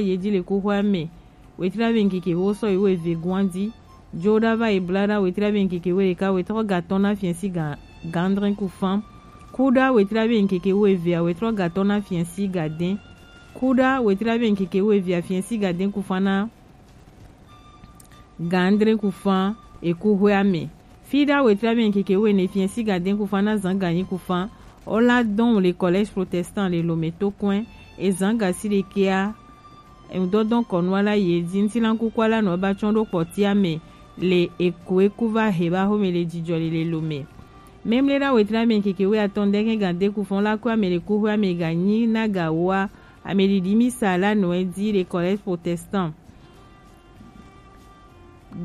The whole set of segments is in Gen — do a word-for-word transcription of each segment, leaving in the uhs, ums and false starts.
Yedi le kuxoa me. Wetri ame ŋkeke wo sɔ yi wo eve guandi. Joda va yi blada wetri ame ŋkeke wo ɖeka wetrɔ gatɔn na fiɛsi ga gandrin kufan. Kuda wetri ame ŋkeke wo evea wetrɔ gatɔn na fiɛsi gaden. Kuda wetri ame ŋkeke wo evea fiɛsi gaden kufan na gandrin kufan ekuxoa me. Fida wetri ame ŋkeke wo ene fiɛsi gaden kufan na zan ganyi kufan. Ola dɔn le collège protestant le Lomé to kɔn ezan gasi ɖekea Eŋudɔdɔn kɔnu ala ye di ŋutilankuku ala nɔ ba tsɔn ɖo kpɔtia me le eko eku va he ba xome le jijɔ le le Lomé. Memle ɖa wetri ame ŋkeke wo atɔn dɛgɛ ga de kufɔn la ku ame le kuxoa me ga nyi na ga woa ame ɖiɖi misa la nɔ di le collège protestant.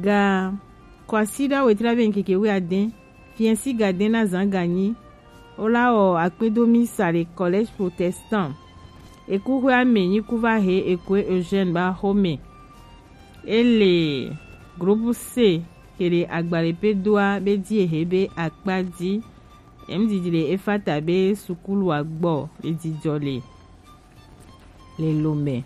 Ga Kwasiɖa wetri ame ŋkeke wo aden fiɛsi gaden na zan ganyi. Wola wɔ akpedo misa le collège protestant. Ekuxoa me nyi ku va he ekoe Eugène ba xome. Ele groupe C kele agbalẽ pe doa be di ehe be akpa di. Em didi le Efata be sukulu agbɔ le didɔ le le Lomé.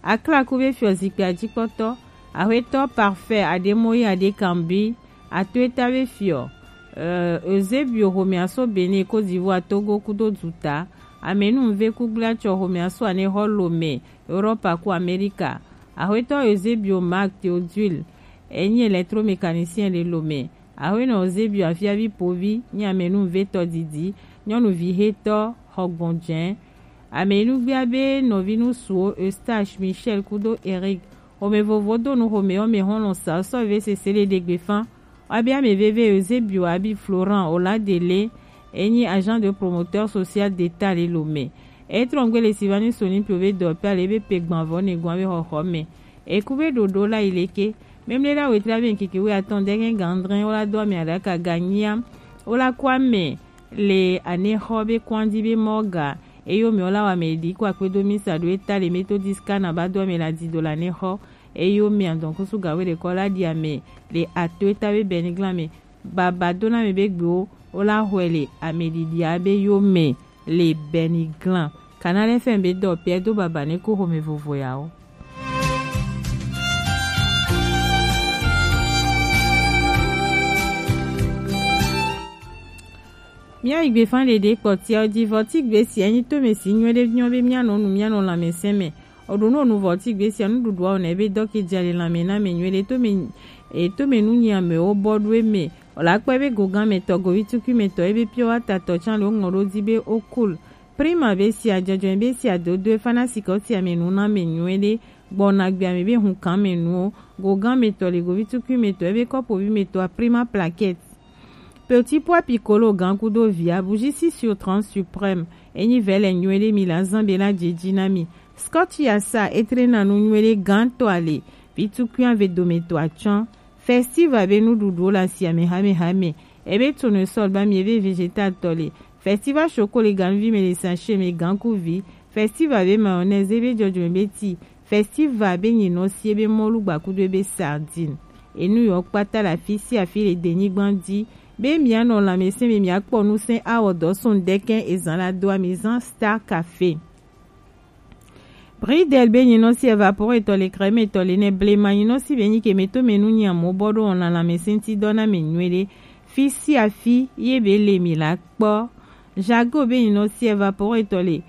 Aklaku be fiɔ zikpui ajikpɔtɔ, Axwetɔ Parfait Ademoyi Adekambi, Atoeta be fiɔ, euh, Eusebio xomɛaso Bénin, Côte d'Ivoire, Togo kudo duta, Amenu Nveku gbliatsɔ xomɛaso Anexɔ Lomé, Europe ku Amerika. Axwetɔ Eusebio Marc Théodule, enyi électromécanicien le Lomé. Axwetɔ Eusebio Afiavi Povi, nyi Amenu Nvetɔ didi, nyɔnuvi hetɔ xɔgbɔn jɛn. Ame yi nu gbia be nɔvi nusuwo Eustache, Michel kudo Eric. Xome vovo do nu xome ɔ me xɔlɔn sa sɔ ve sese le ɖegbe fan. Wa be ame veve Eusebio abi Florent Oladele, enyi agent de promoteur social d'État le Lomé. E trɔngbe le Sylvanus Soni pio be dɔ pe ale be pe gban vɔ ne gwan be xɔxɔ me. Eku be ɖoɖo la yi leke. Memle la wetri abe ŋkeke wi atɔn dɛgɛ gandrɛ wola do ame aɖaka ganyia. Wola kɔ ame le anexɔ be kɔndi be mɔga. Eyo me wola wa me di ko akpedo misa do eta le Methodist kana ba do ame la di do la anexɔ. Eyo me andɔn kusu gawe ɖekɔ la di ame le ato eta be bɛniglan me. Baba do na me be gbewo wola xɔe le ame ɖiɖia be yo me le bɛniglan. Kana lɛ fɛn be dɔ pɛ do baba ne ko xome vovo yawo. Mía yi gbe fan ɖeɖe kpɔtia wo ji vɔ ti gbe sia nyi to me si nyuie ɖe nyɔ be mía nɔ nu mía nɔ lãmesẽ me. O ɖo no nu vɔ ti gbe sia nuɖuɖua o ne be dɔ ke dza le lãme na me nyuie ɖe to me e to me nu nyi amewo bɔ ɖo eme. O la kpɔe be gogan me tɔ govi tukui me tɔ ebe pure water tɔ tsan le wo ŋlɔ ɖo di be o cool. Prima be sia dzɔdzɔe be sia dodoe fana sikɔ sia me nu na me nyuie ɖe gbɔna gbea me be hun kan me nuwo. Gogan me tɔ le govi tukui me tɔ ebe kɔpovi me tɔ a prima plaquette. Petit pois piccolo gan kudo via bougie six sur trente suprême. Enyi vɛ le nyuie ɖe mi la zan be la dze dzi na mi. Scotch ya sa etre na nu nyuie ɖe gan tɔ ale. Vitukui ave dome tɔ atsɔn. Festival be nuɖuɖuwo le asi ame hamehame. Ebe tournesol ba mi ebe vegetal tɔ le. Festival choco le ganuvi me le sachet me gankuvi. Festival be mayonnaise ebe dzɔdzɔme be ti. Festival be nyinɔ si ebe mɔlu gbakudo ebe sardine. Enu yɔ kpata le afi sia afi le denyigba di. Be mianɔ lãmesẽ me miakpɔ nusẽ awɔ dɔ sun dɛkɛ ezan la doa mi zan Star Café. Bridel be nyinɔ si evaporetɔ le crème tɔ le nɛ blema nyinɔ si be nyi ke me to me nu nyi amewo bɔ ɖo wɔna lãmesẽ ti dɔ na me nyuie ɖe. Fi sia fi ye be le mi la kpɔ. Jago be nyinɔ si evaporetɔ le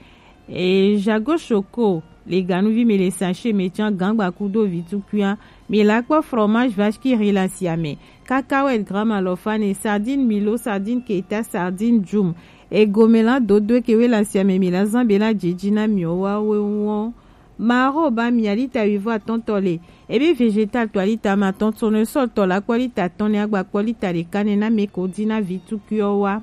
e Jago Choco le ganuvi me le sachet me tsã gangba kudo vitukuia. Mi la kpɔ fromage vache qui rit la sia me. Cacahuète gramme alɔfa ne, sardine Milo, sardine Keta, sardine Jum. Egome la dodo ke we la sia me mi la zan be la djidji na mi o wa we won. Maro ba mi alita wivɔ atɔntɔ le. Ebe vegetal to alita ma tɔn tournesol tɔ la kpɔ lita tɔn ne agba kpɔ lita ɖeka ne na me ko di na vitukuiɔ wa.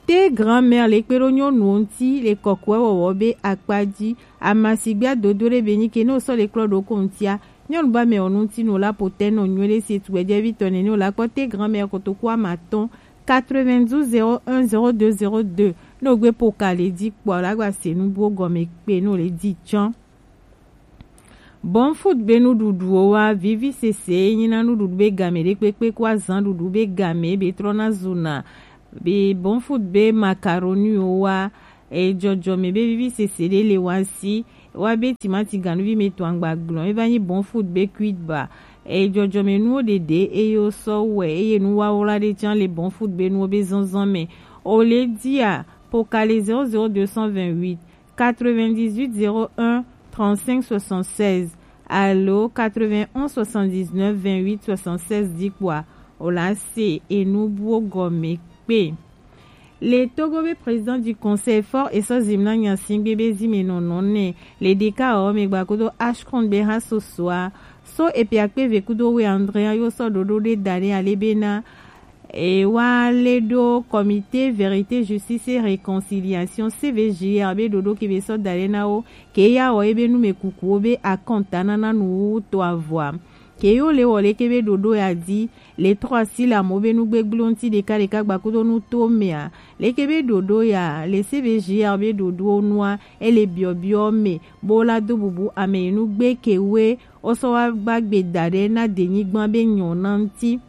Te grand-mère le kpe ɖo nyɔnuwo ŋuti le kɔkɔe wɔwɔ be akpa dzi. Ama sigbe adodo ɖe be nyi ke ne wosɔ le klɔ ɖo ko ŋutia, nyɔnu ba mɛ wɔ nu ŋuti no la potɛ nɔ nyuie ɖe si etu gbɛdzevi tɔ nene wo la kpɔ te grand-mère kotoku ama tɔn quatre-vingt-douze zéro un zéro deux zéro deux. Ne wogbe po ka le dzi kpɔ la gba se nu buwo gɔme kpe ne wole dzi tsɔn. Bon food be nuɖuɖuwo wa, vivi sese ye nyi na nuɖuɖu be game ɖe kpekpe ko azan ɖuɖu be game be trɔna zuna. Be bon food be macaroniwo wa, e dzɔdzɔme be vivi sese ɖe le wa si. wa be timati ganuvi me to angba glɔn, e va nyi bon food be cuite ba. E jɔjɔme nuwo ɖeɖe eye wo sɔ wɛ, eye nu wawla ɖe can le bon food be nuwo be zanzan me. O le dia, po ka le zéro zéro deux cent vingt-huit, quatre-vingt-dix-huit zéro un trente-cinq soixante-seize alo quatre-vingt-onze soixante-dix-neuf vingt-huit soixante-seize di kpoa, o la se enu buwo gɔme kpe. Le Togo be président du conseil fort e sɔ zimna nyasingbe be zime nɔnɔ ne le deka o me gba kudo Ashkron be ha sosoa so epi akpe ve kudo we Andrea yo sɔ dodo de dane ale bena e wa le do comité vérité justice et réconciliation C V J R be dodo ke be sɔ dane na wo ke ya o ebe nu me kuku o be akɔnta na na nu wu to avɔa. Ke yo le wɔ leke be ɖoɖo ya di, le trɔ asi le amewo be nugbegblẽwo ŋuti ɖekaɖeka gbakudo nuto mea, leke be ɖoɖo ya le C V G R be ɖoɖowo nua, ele biɔbiɔ me bo la do bubu ame yi nugbe ke we wo sɔ wa gbagbe da ɖe na denyigba be nyɔ na ŋuti.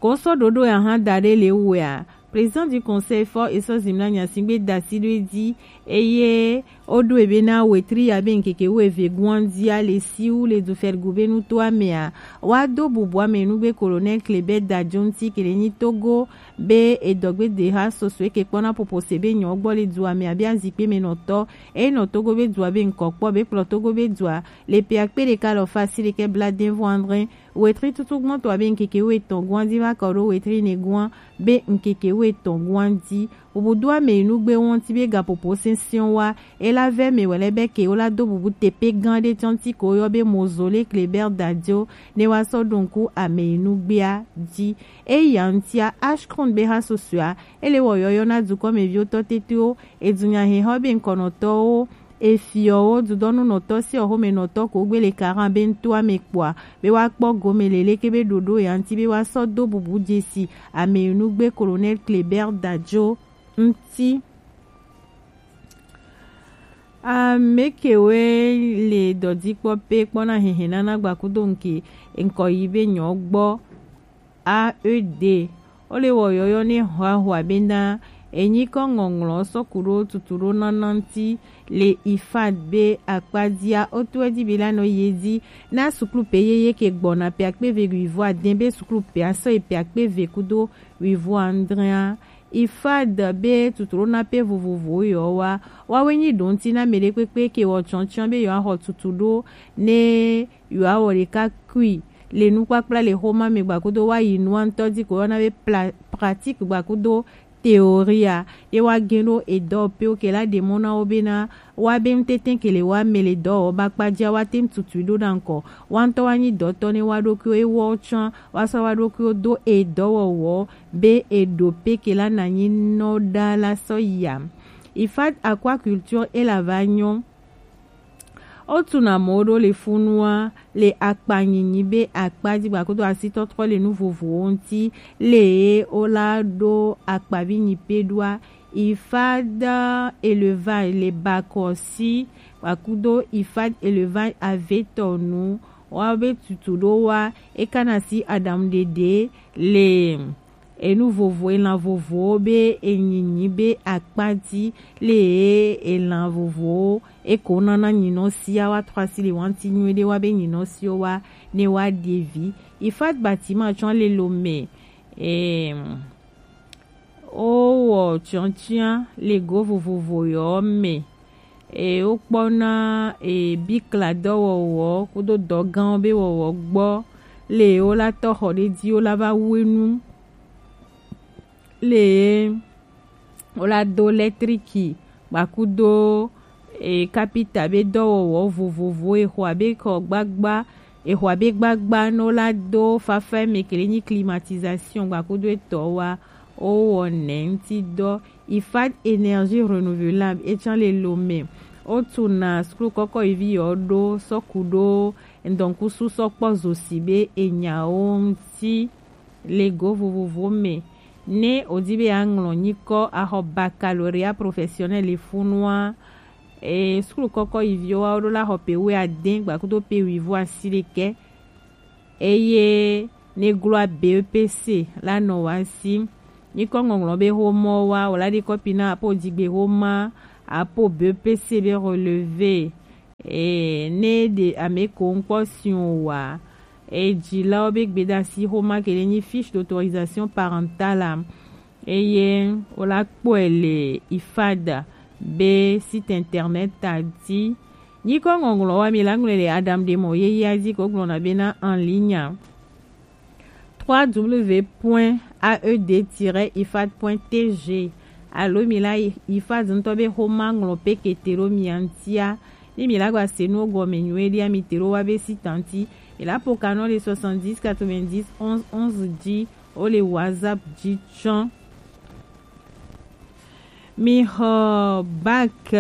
Ko sɔ ɖoɖo ya hã da ɖe le wea, Président du Conseil fort e sɔ zimla nyasigbe da si ɖo edzi eye wo ɖo ebe na wetri ya be ŋkeke wuieve guan dzia le siwu le du Fergu be nutoa mea, wa do bubu ame nugbe Colonel Kleber Dadjo ŋuti ke le nyi Togo be edɔgbedeha soso eke kpɔna popo se be nyɔ gbɔ le dua mea be azikpe me nɔtɔ eye nɔ Togo be dua be ŋkɔ kpɔ be kplɔ Togo be dua le pia kpe ɖeka lɔ fa si ɖekɛ bla den vɔ andre wetri tutu gbɔntɔ abe ŋkeke wuietɔn guan dzi va kɔ ɖo wetri ne guan be ŋkeke wuietɔn guan dzi. Bubu do ame yi nugbe wo ŋuti be gapopo sɛnsɛn wa, e la vɛ me wɛlɛ be ke wo la do bubu tepe gã ɖe tɔn ti ko yɔ be Mozole Kleber Dadio ne wa sɔ ɖo ŋku ame yi nugbea dzi. Eya ŋutia Ashkron be ha susua, ele wɔ yɔyɔ na dukɔmeviwo tɔ tetewo, edunya hehɔ be ŋkɔnɔtɔwo, efiɔwo, dudɔnunɔtɔ si ɔxomenɔtɔ ko gbe le karan be ŋutoa me kpɔa, be wa kpɔ gome leleke be ɖoɖo ya ŋuti be wa sɔ do bubu dzesi ame yi nugbe Colonel Kleber Dadio ŋuti. Ame kewe le dɔdzikpɔ pe kpɔna hehe nana gbakudo ŋke ŋkɔ yi be nyɔ gbɔ A E D. Wo le wɔ yɔyɔ ne hwa hwa be na enyi kɔ ŋɔŋlɔ sɔ ku ɖo tutu ɖo nana ŋuti le ifad be akpa dzia, wo to edzi be la nɔ ye dzi na suklu pe yeye ke gbɔna pe akpe ve wi vɔ aden be suklu pe asɔ yi pe akpe ve kudo wi vɔ andrea. Ifad be tutu ɖo na pe vovovo yɔ wa, wa we nyi ɖo ŋuti na me ɖe kpekpe ke wɔ tsɔntsɔn be yɔ axɔ tutu ɖo ne yɔ awɔ ɖeka kui le nukpakpla le xoma me gbakudo wa yi nua ŋutɔ dzi ko yɔna be pla-, pratique gbakudo théorie a, ye wa gen ɖo edɔ pe wo ke la ɖe mɔ na wo be na wa be ŋutete ke le wa me le dɔ wɔ ba kpa dzia wa te ŋututui ɖo na ŋkɔ. Wa ŋutɔ wa nyi dɔtɔ ne wa ɖokuiwo ewɔ tsã wa sɔ wa ɖokuiwo do edɔwɔwɔ be eɖo pe ke la na nyi nɔ ɖa la sɔ ya. Ifad aquaculture e la va nyɔ. Wo tuna mɔ ɖo le funua le akpa nyinyi be akpa dzi gbakudo asitɔtrɔ le nu vovowo ŋuti le wo la ɖo akpavi nyi pe ɖoa. Ifad élevage le bakɔsi gbakudo ifad élevage avetɔ nu wa be tutu ɖo wa e kana si aɖaŋu ɖeɖe le enu vovo, elan vovowo be enyinyi be akpa dzi le elan vovowo eko nana nyinɔ sia wa trɔ asi le wanti nyuie ɖe wa be nyinɔ siwo wa ne wa ɖe vi. Ifat bâtiment tsɔ le lo me. Em, wo wɔ tsɔntsia le go vovovo yɔ me. E wo kpɔna e bikla dɔwɔwɔ kudo dɔgãwo be wɔwɔ gbɔ le wo la tɔ xɔ ɖe dzi wo la va wu enu. Le wo la do lɛtriki gbakudo e kapita be dɔwɔwɔ vovovo e xɔ abe kɔ gbagba e xɔ abe gbagba no la do fafa me kele nyi climatisation gbakudo etɔ wa wo wɔ nɛ ŋuti dɔ. Ifad énergie renouvelable etsã le lo me. Wo tuna suklu kɔkɔ yi vi yɔ ɖo sɔ ku ɖo ŋdɔnkusu sɔ kpɔ zo si be enyawo ŋuti le go vovovo me. Ne wòdi be yeaŋlɔ nyikɔ axɔ baccalauréat professionnel le funua, e, suklu kɔkɔ yi viwo wa wo ɖo la xɔ pe wuiade gbakudo pe wuivo asi ɖekɛ. Eye ne gloa B E P C la nɔ wa si. Nyikɔ ŋɔŋlɔ be xomɔ wa wòla ɖi kɔpi na apo dzigbe xoma apo B P C be relevé, e ne ɖe ame ko ŋkpɔ si o wa, e dzilawo be gbedasi xoma ke le nyi fiche d'autorisation parentale a, eye wola kpɔe le ifad be site internet a dzi. Nyikɔ ŋɔŋlɔ wa mi la ŋlɔe le Adam de mɔ yeyea dzi ko gblɔna bena en ligne a. trois w w w point a e d tiret ifad point t g, alo mi la ifad ŋutɔ be xoma ŋlɔ pe kete ɖo mia ŋutia. Ne mi la gba se nuwo gɔme nyuie ɖia, mi te ɖo wa be site ŋuti. Mi la po kanɔ le soixante-dix quatre-vingt-dix onze onze dzi, o le WhatsApp dzi tsɔ. Mi xɔ bac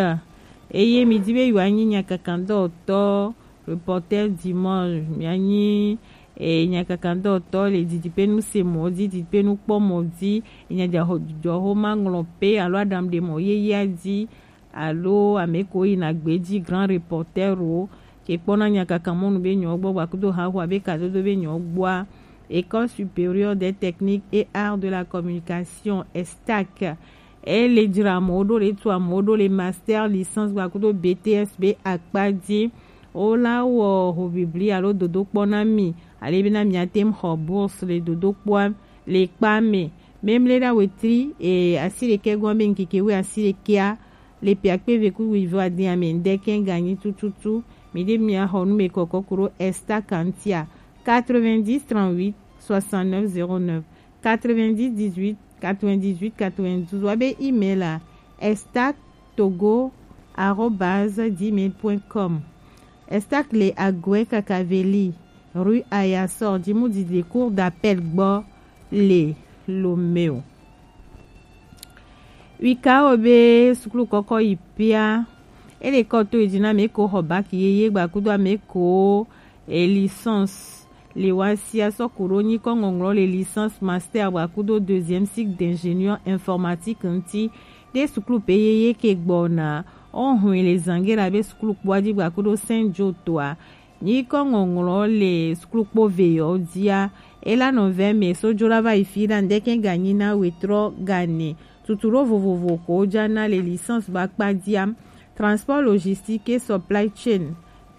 eye mi di be yewoa nyi nyakakadɔwɔtɔ, reporter du monde, mia nyi e nyakakadɔwɔtɔ le didiƒe nu se mɔ dzi, didiƒe nu kpɔ mɔ dzi, enya dza xɔ dzudzɔ xoma ŋlɔ pe alo aɖaŋu ɖe mɔ yeyea dzi, alo ame ko yina gbe dzi, grand reporter wo ke kpɔna nyakaka mɔnu be nyɔ gbɔ gbakudo haxo abe kadodo be nyɔ gbɔa. École supérieure des techniques et arts de la communication, estac. E le dzra amewo ɖo, le tu amewo ɖo le master, licence kpakudo B T S be akpa dzi. Wola wɔ hobibli alo dodokpɔ na mi, ale bena miate ŋu xɔ bourse le dodokpɔa le kpa me. Memle ɖa wetri e asi ɖekɛ gɔn be ŋkeke wui asi ɖekɛa le piakpe ve ku wivɔ adi ame ŋdɛkɛ ganyi tututu. Mi ɖe mia xɔ nu me kɔkɔ ku ɖo esta kantia quatre-vingt-dix trente-huit soixante-neuf zéro neuf. Quatre-vingt-dix dix-huit quatre-vingt-dix-huit quatre-vingt-douze, wa be email a estac togo arobase gmail point com. Estac le Agwe Kakaveli, rue Ayasor, Djimoudi, le cour d'appel gbɔ le Lomeo. Wika wo be sukulu kɔkɔ yi pia, ele kɔ to yi dzi na ame ko xɔ bac yeye gbakudo ame ko e licence le wa sia sɔ ku ɖo nyikɔ ŋɔŋlɔ le licence, master gbakudo deuxième cycle d'ingénieur informatique ŋuti ɖe sukulu pe yeye ke gbɔna. O hɔn le zange la be sukulu kpɔa dzi gbakudo Saint Joe toa. Nyikɔ ŋɔŋlɔ le sukulukpo ve yɔ dzia, ela nɔ vɛ me so dzo la va yi fi ɖa ŋdɛkɛ ganyi na wetrɔ gane. Tuturo vovovo ko dza na le licence ba kpa dzia: transport logistique et supply chain,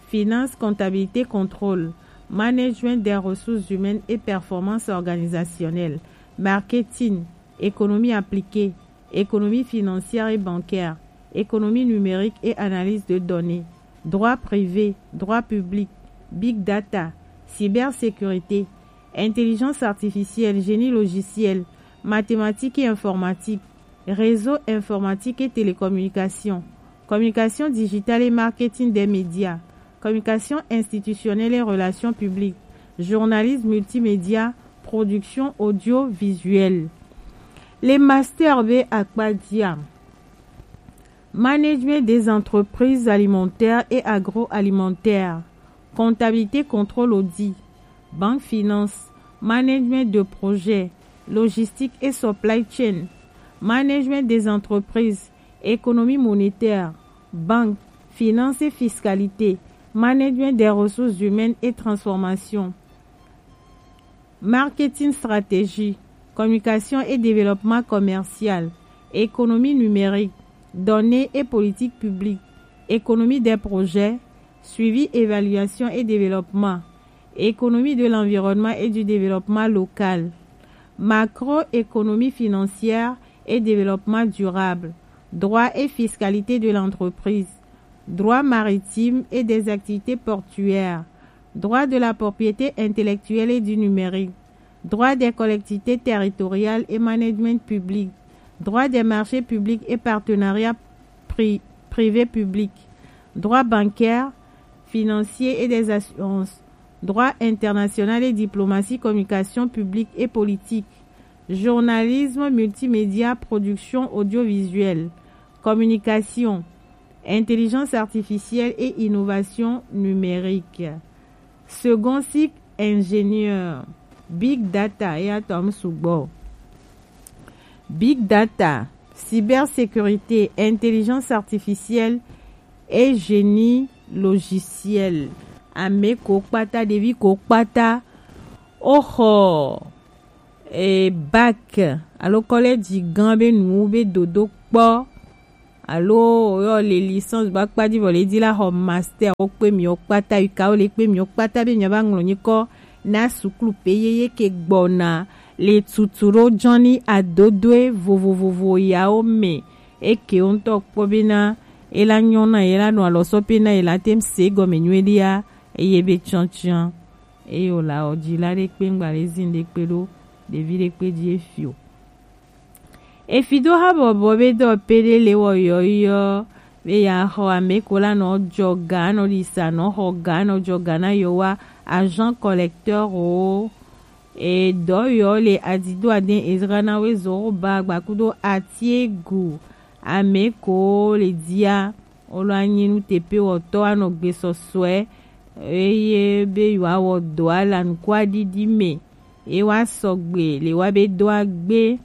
finance, comptabilité, contrôle, management des ressources humaines et performance organisationnelle, marketing, économie appliquée, économie financière et bancaire, économie numérique et analyse de données, droit privé, droit public, big data, cybersécurité, intelligence artificielle, génie logiciel, mathématiques et informatique, réseau informatique et télécommunication, communication digitale et marketing des médias, communication institutionnelle et relations publiques, journalisme multimédia, production audiovisuelle. Le master be akpa dzia: management des entreprises alimentaires et agroalimentaires, comptabilité, contrôle, audit, banque, finance, management de projet, logistique et supply chain, management des entreprises, économie monétaire, banque, finance et fiscalité, management des ressources humaines et transformation, marketing, stratégie, communication et développement commercial, économie numérique, données et politique publique, économie des projets, suivi, évaluation et développement, économie de l'environnement et du développement local, macroéconomie financière et développement durable, droit et fiscalité de l'entreprise, droit maritime et des activités portuaires, droit de la propriété intellectuelle et du numérique, droit des collectivités territoriales et management public, droit des marchés publics et partenariats pri- privé-public, droit bancaire, financier et des assurances, droit international et diplomatie, communication publique et politique, journalisme, multimédia, production audiovisuelle, communication, intelligence artificielle et innovation numérique. Second cycle, ingénieur, big data et atome sugbɔ. Big data, cybersécurité, intelligence artificielle et génie logiciel. Ame ko kpata, ɖevi ko kpata, o xɔ e bac alo kɔlɛji gã be nu be dodo kpɔ alo woyɔ le licence ba kpa ji vɔ le ji la xɔ master wo kpe miɔ kpata yi ka wo le kpe miɔ kpata be miɔ ba ŋlɔ nyikɔ na suklu pe yeye ke gbɔna le tutu ɖo jɔn ni adodoe vovovovo yawo me. Eke wo ŋutɔ kpɔ bena e la nyɔ na ye la nɔ alɔ sɔ pe na ye la te se gɔme nyuie ɖia eye be tsɔtsɔa eye o la ɔ ji la ɖe kpe ŋgba le zin ɖe kpe ɖo ɖevi ɖe kpe ji efi o. Efi do ha bɔbɔ be dɔ pe ɖe le wɔ yɔyɔ be ya xɔ ame ko la nɔ jɔ ga nɔ ɖisa nɔ xɔ ga nɔ jɔ ga na yɔ wa agent collecteur o. E dɔ yɔ le adido aden ezra na we zoro ba gbakudo atiegu ame ko le dia olo anyi nu tepe wɔtɔ anɔ gbe sɔsɔɛ eye be yewoawɔ dɔ ala nuku aɖiɖi me. Ye wa sɔgbe le wa be do agbe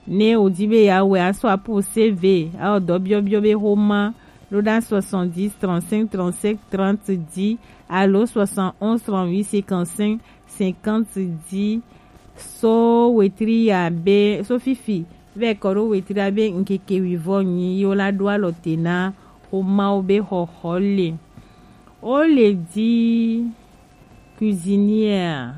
ne wòdi be yeawɔe asɔ apo C V awɔ dɔ biɔbiɔ be xoma ɖo ɖa soixante-dix trente-cinq trente-sept trente dix alo soixante-onze trente-huit cinquante-cinq cinquante dix. So wetri ya be so fifi vɛ kɔ ɖo wetri ya be ŋkeke wivɔ nyi yo la ɖo alɔ te na xomawo be xɔxɔ le. O le di cuisinière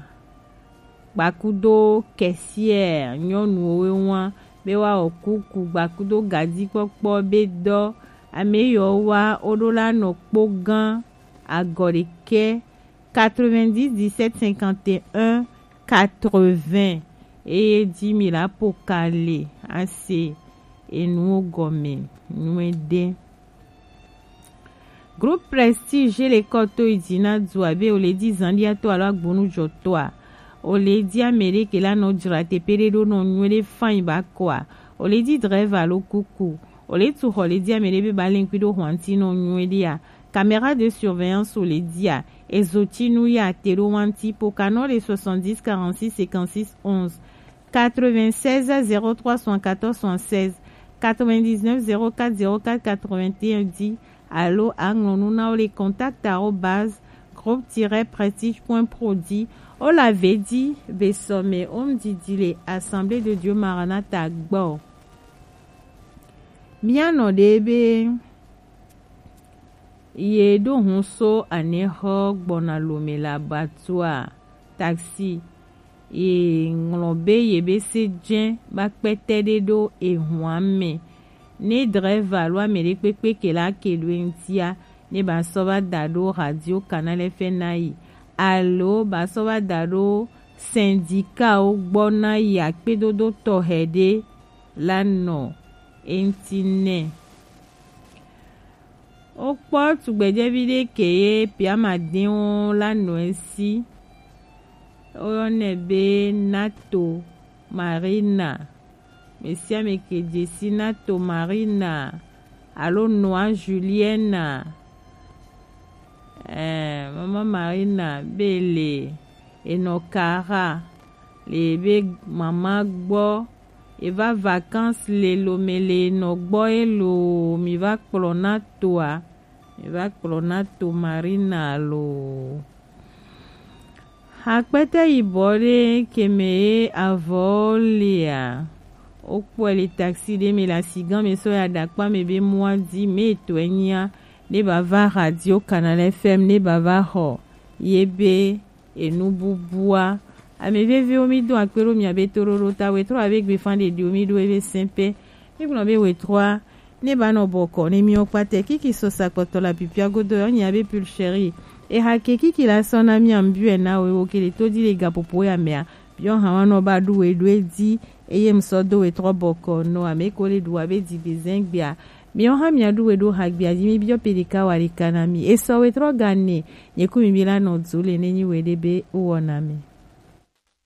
gbakudo caissière nyɔnuwo we ŋua be woawɔ kuku gbakudo gadzikpɔkpɔ be dɔ ame yiwo wa wo ɖo la nɔ kpo gã agɔ ɖekɛ quatre-vingt-dix dix-sept cinquante et un quatre-vingts eye ji mi la po ka le ase enuwo gɔme nyuie ɖe. Groupe Prestige le kɔ to yi dzi na du abe o le di zanɖia to alo agbonu jɔ toa o le di ame ɖe ke la nɔ dzra teƒe ɖe ɖo nɔ nyuie ɖe fain ba kɔa o le di drɛva alo kuku o le tu xɔ le di ame ɖe be ba le ŋkui ɖo hwanti nɔ nyuie ɖea caméra de surveillance o le dia ezo ti nu ya te ɖo wanti po kanɔ le soixante-dix quarante-six cinquante-six onze quatre-vingt-seize zéro trois soixante-quatorze soixante-seize quatre-vingt-dix-neuf zéro quatre zéro quatre quatre-vingt-un dix alo aŋlɔ nu na wo le contact arobase groupe tiret prestige point pro di o la ve di be sɔme o ŋdidi le Assemblée de Dieu Maranatha gbɔ. Mianɔ ɖe be ye ɖo hun so anexɔ gbɔna lome le abatua taxi ye ŋlɔ be ye be se dze ba kpɛtɛ ɖe ɖo ehua me ne drɛva alo ame ɖe kpekpe ke la ke ɖo eŋutia ne ba sɔ va da ɖo radio Canal F M na yi alo ba sɔ va da ɖo syndicat wo gbɔ na yi akpedodo tɔxɛ ɖe la nɔ eŋuti nɛ. Wokpɔ tugbedzɛvi ɖe ke ye piamadɛwo la nɔ esi. Woyɔnɛ be Nato Marina. Mesiame ke dzesi Nato Marina alo Noa Julienne. Eh, Mama Marina be le enɔ Kara le be mama gbɔ eva vacances le lome le enɔ gbɔ elo mi va kplɔ na toa mi va kplɔ na to Marina lo. Akpɛtɛ yibɔ ɖe keme ye avɔ lea wokpɔe le taxi ɖe me le asigã me sɔ ya ɖakpa me be mɔa di me etɔe nyia ne ba va radio Canal F M ne ba va xɔ ye be enu bubua. Ame veviwo mi do akpe ɖo mia be toɖoɖo ta wetrɔ abe gbefa ɖeɖiwo mi ɖo ebe sɛpɛ mi gblɔ be wetrɔa ne ba nɔ bɔkɔ ne miwo kpatɛ kiki sɔ sakpɔtɔ la pipia godo yɔ nya be pulcheri eha ke kiki la sɔ na mia mbiwe na wewo ke le to di le gapopo ya mea biɔ ha wa nɔ ba ɖu we ɖo edi eye ŋsɔ do wetrɔ bɔkɔ nɔ ame ko le ɖu abe digbe zɛgbea miwo hã miaɖu we ɖo hagbea dzi mibiɔ pe ɖeka wa ɖeka na mi esɔ wetrɔ ga nɛ nye ku mi bi la nɔ du le ne nyi we ɖe be wowɔna mi.